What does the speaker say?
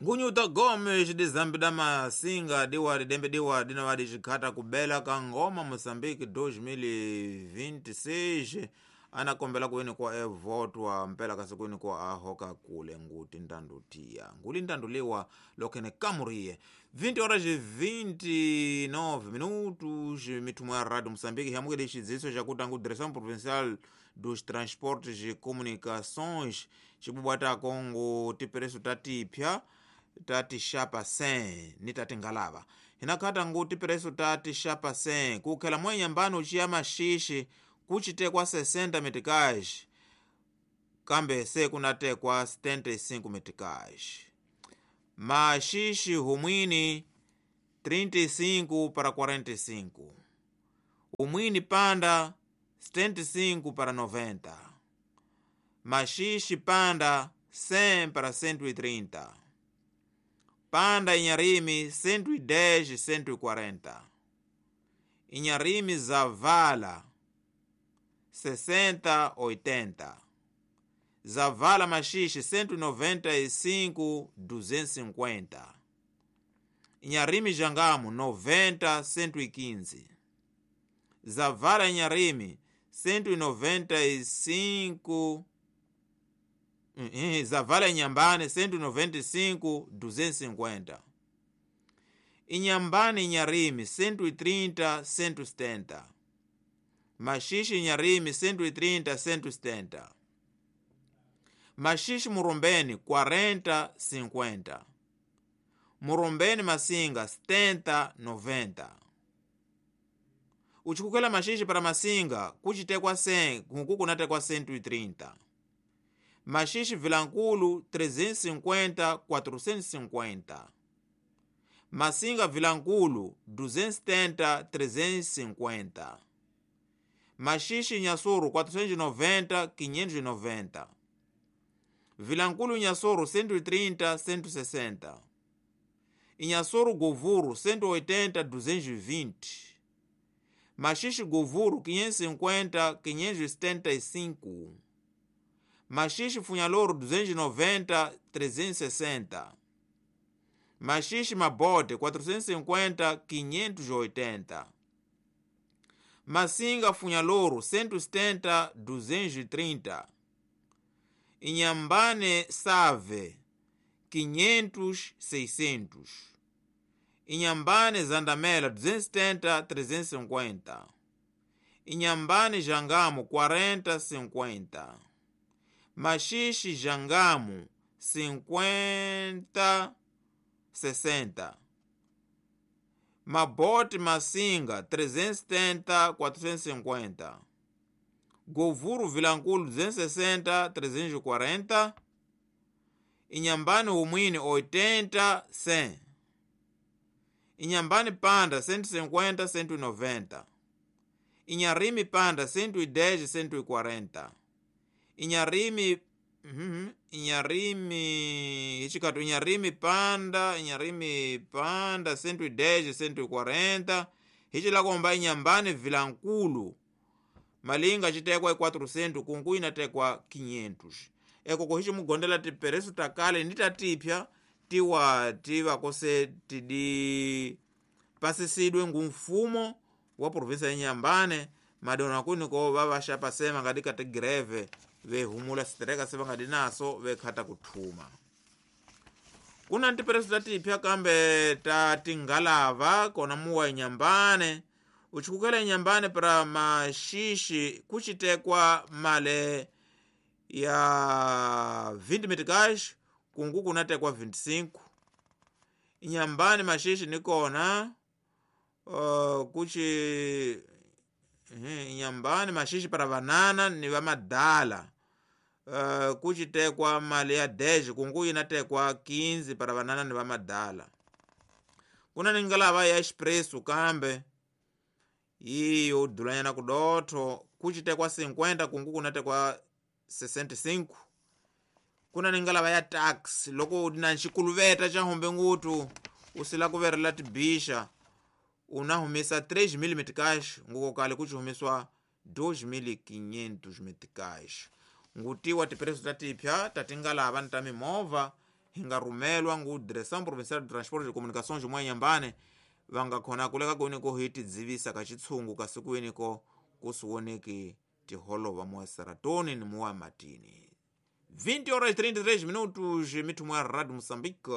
Ngunyuta Gomes de Zambida Masinga diwari dembe diwari dinawadi xikhata kubela ka ngoma Moçambique 2026 anakombela kuini kwa evotwa mpela kasi kuini kwa ahoka kule nguti ndandutia nguli ndanduliwa lokhene kamuriye 20 horas 29 minutos mithumo ya rádio Moçambique yamukele xidziso xakuti angu Direção Provincial dos Transportes e Comunicações xibubwatako ngu tipereso ta tipya tati xapa 100 ni tati ngalava hinakhata ngu tipereso tati xapa 100 kukhela mwenyambani uciya maxixi kucitekwa 60 meticais kambe se kunatekwa 75 meticais maxixi humwini 35 para 45 humwini panda 75 para 90 maxixi panda 100 para 130 panda Inharime 110 140 Inharime Zavala 60 80 Zavala Maxixe 195 250 Inharime Jangamo 90 115 Zavala Inharime 195 Zavala Inhambane 195 250 Inhambane Inharime 130 170 Maxixe Inharime 130 170 Maxixe Murumbeni 40 50 Murumbeni Massinga 70 90 Uchikukela Maxixe para Massinga kucitekwa 100 nkuku kunatekwa 130 Maxixe Vilankulu 350 450 Massinga Vilankulu 270 350 Maxixe Inhassoro 490 590 Vilankulu Inhassoro 130 160 Inhassoro Govuro 180 220 Maxixe Govuro 550 575 Maxixe Funhalouro 290 360 Maxixe Mabote 450 580 Massinga Funhalouro 170 230 Inhambane Save 500 600 Inhambane Zandamela 270 350 Inhambane Jangamo 40 50 Maxixe Jangamo 50 60 Mabote Massinga 370 450 Govuro Vilankulu 260 340 Inhambane Humwini 80 100 Inhambane Panda 150 190 Inharime Panda 110 140 Inharime Inharime icikatu Inharime Panda Inharime Panda 110 140 hicilakomba Inhambane Vilankulu malinga citekwa 400 kunku inatekwa 500 ekoko hici mugondela tipereso takale ni tatipya tiwa tivakose tidi pasisidwe ngu mfumo wa provinsa ya Inhambane madona kuniko vavaxapa sema ngadi ka tigreve vehumula sitereka se va nga di naso vekhata kuthuma kuna tipereso tatipya kambe ta tingalava kona muwa Inhambane uchikukela Inhambane para Maxixe kucitekwa male ya 20 meticais kungu kunatekwa 25 Inhambane Maxixe nikona kuci Inhambane Maxixe para vanana ni vamadala kucitekwa mali ya 10 kungu inatekwa 15 para vanana ni vamadala kuna ni ngalava ya expresso kambe iyo dulanyana kudotho kucitekwa 50 kungu kunatekwa 65 kuna ni ngalava ya taxi loko na xikuluveta xa hombe ngutu u sila ku verela tibixa una humesa 3000 meticais nguko kale kuci humesiwa 2500 meticais ngutiwa tipereso ta tipya ta tingalava ni ta mimovha Hi nga rumelwa ngu Direção Provincial de Transporte de Comunicações mwa Nyambane, va nga khona kuleka kwini hi tidzivisa ka chitshungu kasi kwiniko kusiwoneki tiholova muwa Seratoni ni muwa Matini. 20 horas 33 minutos, mithumo ya Radio Moçambique.